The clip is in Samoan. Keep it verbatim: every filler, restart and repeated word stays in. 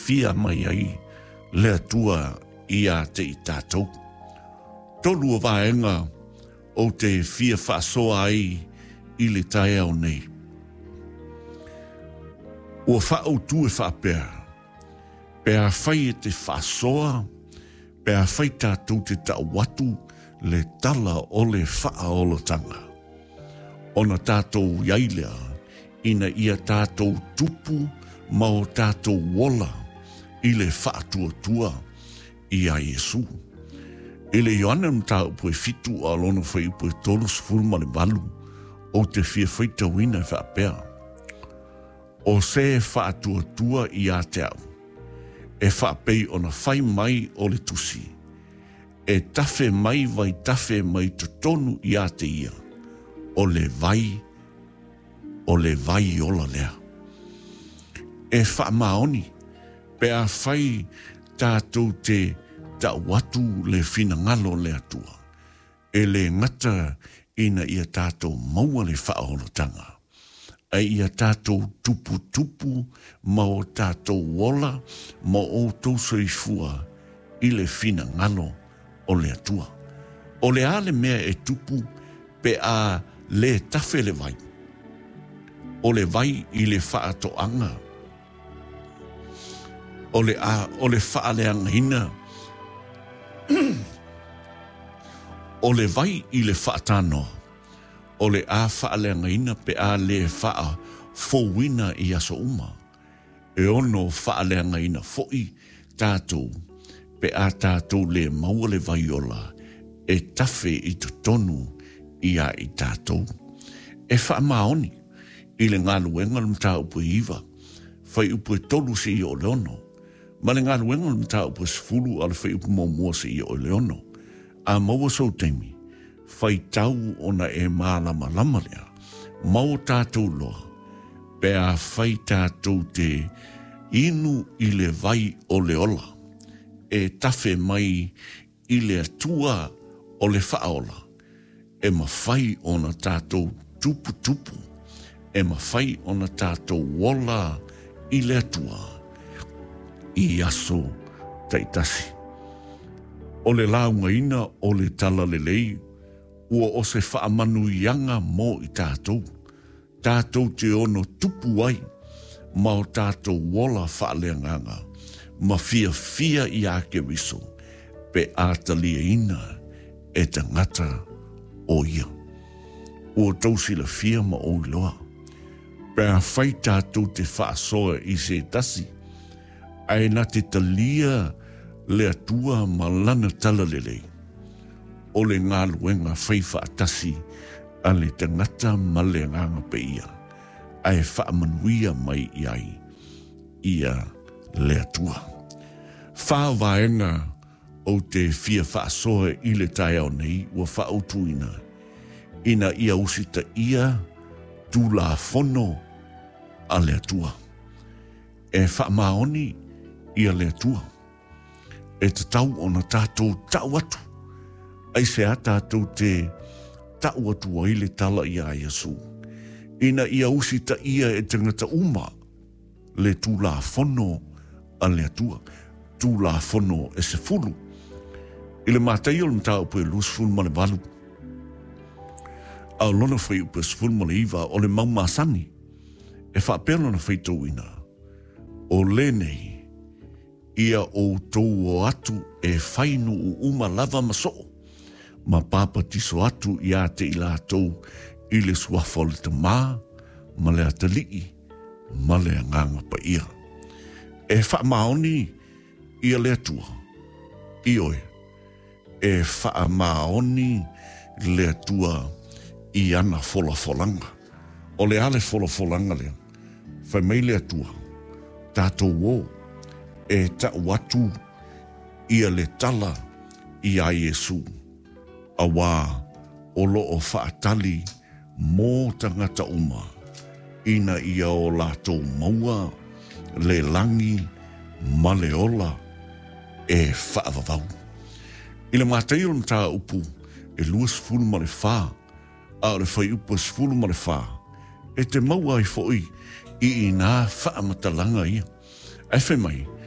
fiafia mai ai le Atua ia te i tatou. Tolu o vaega ou te fia faasoa ai i le taeao nei. Ua faautu e faapea, pe afai e te faasoa, pe afai tatou te tau atu le tala o le faaolataga, ona tatou i ai lea ina ia tatou tupu ma o tatou ola i le faatuatua ia Iesu. I le Ioane mataupu e fitu a lona fuaiupu e tolusefulu ma le valu, ou te fia faitauina e faapea, O se e faatuatua ia te au, e faapei ona fai mai o le tusi, e tafe mai vaitafe mai totonu ia te ia, o le vai, o le vai ola lea. E faamaoni pe afai tatou te tau atu le finagalo o le Atua, e le gata ina ia tatou maua le faaolataga, ae ia tatou tuputupu ma o tatou ola ma outou soifua i le finagalo o le Atua. O le a le mea e tupu pe a le tafe le vai? O le vai i le faatoaga, o le a, o le faaleagaina, o le vai i le faatanoa, o le a faaleagaina pe a le faafouina i aso uma. E ono faaleagaina foi tatou pe a tatou le maua le vai ola e tafe i totonu ia i tatou. E faamaoni i le galuega o le mataupu e iva, fuaiupu e tolu seia oo i le ono, ma le galuega o le mataupu e sefulu a o le fuaiupu muamua seia oo i le ono. A maua sou taimi, faitau ona e malamalama lea, ma o tatou loa, pe afai tatou te inu i le vai o le ola, e tafe mai i le Atua o le faaola, e mafai ona tatou tuputupu, e mafai ona tatou ola i le Atua i aso taitasi. O le laugaina o le talalelei ua o se faamanuiaga mo i tatou, tatou te ono tupu ai ma o tatou ola faaleagaga ma fiafia ia Keriso pe a taliaina e tagata o ia. Ua outou silafia ma ou iloa, pe afai tatou te faasoa i se tasi, ae na te talia le Atua ma lana talalelei, o le galuega fai faatasi a le tagata ma le Agaga Paia, ae faamanuia mai i ai ia le Atua. Fa vaega ou te fia faasoa i le taeao nei ua faautuina, ina ia usitaia Tulafono a le Atua. E faamaoni ia le Atua. E tatau ona tatou tau atu. Aisea tatou te tau atu ai le tala ia Iesu? Ina ia usitaia e tagata uma le Tulafono a le Atua. Tulafono e sefulu. I le Mataio o le mataupu e luasefulu ma le valu, a o lona fuaiupu e sefulu ma le iva, o le mau masani, e faapea lona faitauina, O lenei, ia outou o atu e fai nuu uma lava ma soo, ma papatiso atu ia te i latou i le suafa o le Tama, ma le Atalii, ma le Agaga Paia. E faamaoni ia le Atua, ioe, e faamaoni le Atua i ana folafolaga. O le a le folafolaga lea? Fai mai le Atua, tatou o, e tau atu ia le tala iā Iesu, auā o lo o faatali mō tagata uma ina ia o latou maua le lagi ma le ola e faavavau. I le Mataio o le mataupu e luasefulu ma le fa, a o le fuaiupu e sefulu ma le fa, e te maua ai foi i inā faamatalaga ia. Ae fai mai,